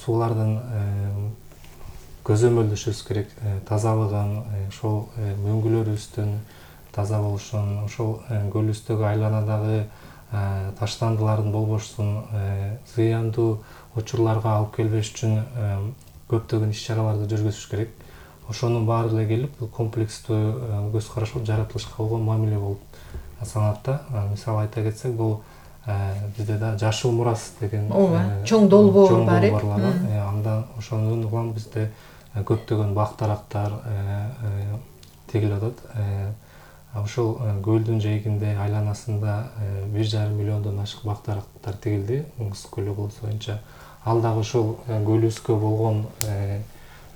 суулардын көзөмөлдөшүбүз керек, тазалыгын, ошол мөңгүлөрүбүздүн таза болушун, ошол көлүбүздөгү айланадагы таштандылардын болбошун, зыяндуу учурларга алып келбеш үчүн көптөгөн иш-чараларды жүргүзүш керек. Ошонун баары эле келип, бул комплекстүү көз караш жаратылышка болгон мамиле болуп саналат да. Мисалы айта кетсек, бул бизде да жашыл мурас деген чоң долбоор бар. Андан ошондон улам бизде көптөгөн бак-дарактар тегилип атат. Ошол көлдүн жээгинде айланасында 1,5 миллиондон ашык бак-дарактар тегилди Ысык көл облусу боюнча. Ал дагы ошол көлүбүзгө болгон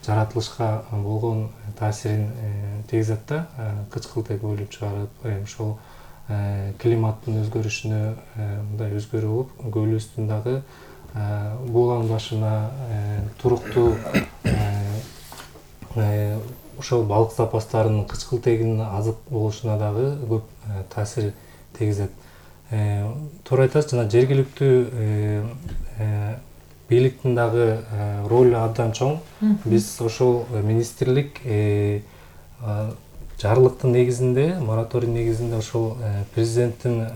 жаратылышка болгон таасирин тийгизет да. Кычкылтек бөлүп чыгарып, ошол климаттын өзгөрүшүнө мындай өзгөрүү болуп, көлүбүздүн дагы бууланбашына, туруктуу ошол балык запастарынын кычкылтегинин азык болушуна дагы көп таасир тийгизет. Туура айтасыз, жана жергиликтүү бийликтин дагы ролу абдан чоң. Биз ошол министрлик жарлыктын негизинде, мораторий негизинде ошол президенттин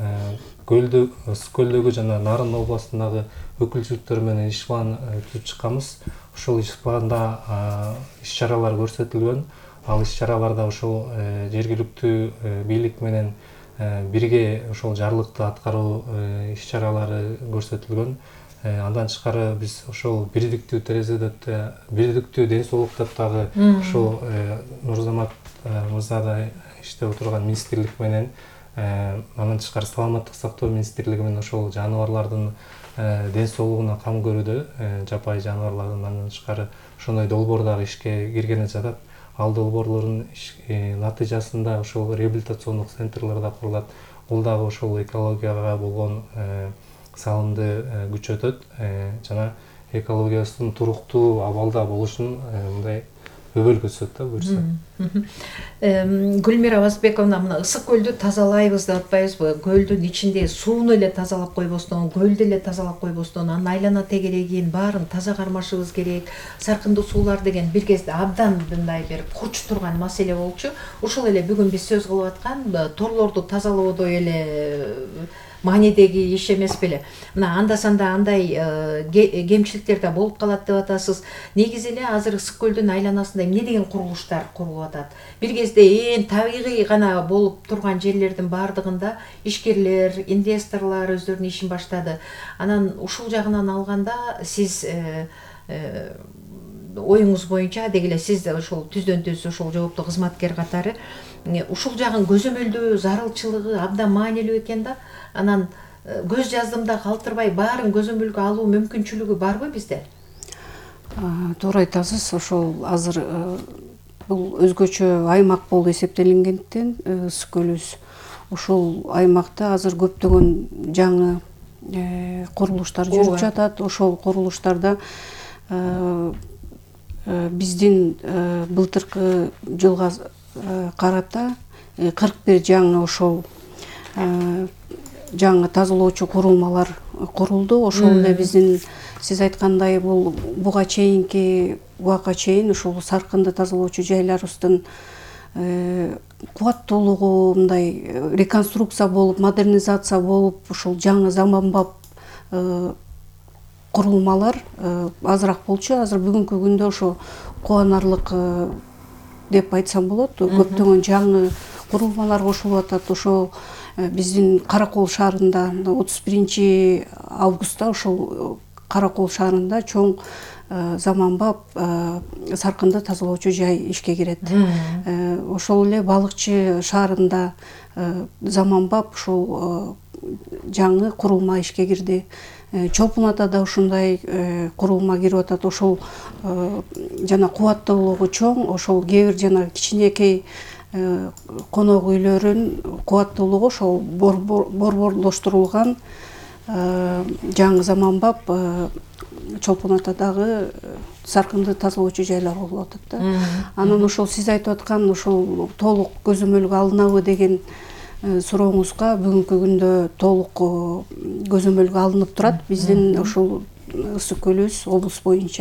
Ысык көлдөгү жана Нарын областындагы өкүлчүлүктөр менен иш план түзүп чыкканбыз. Ошол иш планда иш-чаралар көрсөтүлгөн. Ал иш-чараларда ошол жергиликтүү бийлик менен бирге ошол жарлыкты аткаруу иш-чаралары көрсөтүлгөн. Андан тышкары биз ошол бирдиктүү терезе деп, бирдиктүү ден соолук деп дагы ошол Нурзамат мырзадай иштеп отурган министрлик менен, андан тышкары саламаттык сактоо министрлиги менен ошол жаныбарлардын ден соолугуна кам көрүүдө, жапайы жаныбарлардын. Андан тышкары ошондой долбоор дагы ишке киргени жатат. Ал долбоорлордун натыйжасында ошол реабилитациондук центрлер да курулат. Бул дагы ошол экологияга болгон салымды күчөтөт жана экологиябыздын туруктуу абалда болушун мындай өбөлгө түзөт да буюрса. Гүлмира Абазбековна, мына Ысык көлдү тазалайбыз деп атпайбызбы? Көлдүн ичинде сууну эле тазалап койбостон, көлдү эле тазалап койбостон, анын айлана тегерегин баарын таза кармашыбыз керек. Саркындуу суулар деген бир кезде абдан мындай бир курч турган маселе болчу. Ошол эле бүгүн биз сөз кылып аткан торлорду тазалоодой эле маанидеги иш эмес беле? Мына анда-санда андай кемчиликтер да болуп калат деп атасыз. Негизи эле азыр Ысык көлдүн айланасында эмне деген курулуштар курулуп атат? Бир кезде ээн табигый гана болуп турган жерлердин баардыгында ишкерлер, инвесторлор өздөрүнүн ишин баштады. Анан ушул жагынан алганда сиз оюңуз боюнча деги эле сиз ошол түздөн түз ошол жооптуу кызматкер катары ушул жагын көзөмөлдөө зарылчылыгы абдан маанилүү экен да. Анан көз жаздым да калтырбай баарын көзөмөлгө алуу мүмкүнчүлүгү барбы бизде? Туура айтасыз. Ошол азыр бул өзгөчө аймак болуп эсептелингендиктен Ысык көлүбүз ошол аймакта азыр көптөгөн жаңы курулуштар жүрүп жатат. Ошол курулуштарда биздин былтыркы жылга карата 41 жаңы ошол жаңы тазалоочу курулмалар курулду. Ошол эле биздин сиз айткандай буга чейинки убакка чейин ушул саркынды тазалоочу жайларыбыздын кубаттуулугу мындай реконструкция болуп, модернизация болуп, ушул жаңы заманбап курулмалар азыраак болчу. Азыр бүгүнкү күндө ошо кубанарлык деп айтсам болот. Көптөгөн жаңы курулмалар кошулуп атат. Ошол биздин Каракол шаарында 31 августта ошол Каракол шаарында чоң заманбап саркынды тазалоочу жай ишке кирет. Ошол эле Балыкчы шаарында заманбап ушул жаңы курулма ишке кирди. Чолпон Атада ушундай курулма кирип атат. Ошол жана кубаттуулугу чоң. Ошол кээ бир жана кичинекей конок үйлөрүн кубаттуулугу ошол борборлоштурулган жаңы заманбап Чолпон Атадагы саркынды тазалоочу жайлар болуп атат да. Анан ошол сиз айтып аткан ошол толук көзөмөлгө алынабы деген сурооңузга бүгүнкү күндө толук көзөмөлгө алынып турат. Биздин ошол Ысык көлүбүз облус боюнча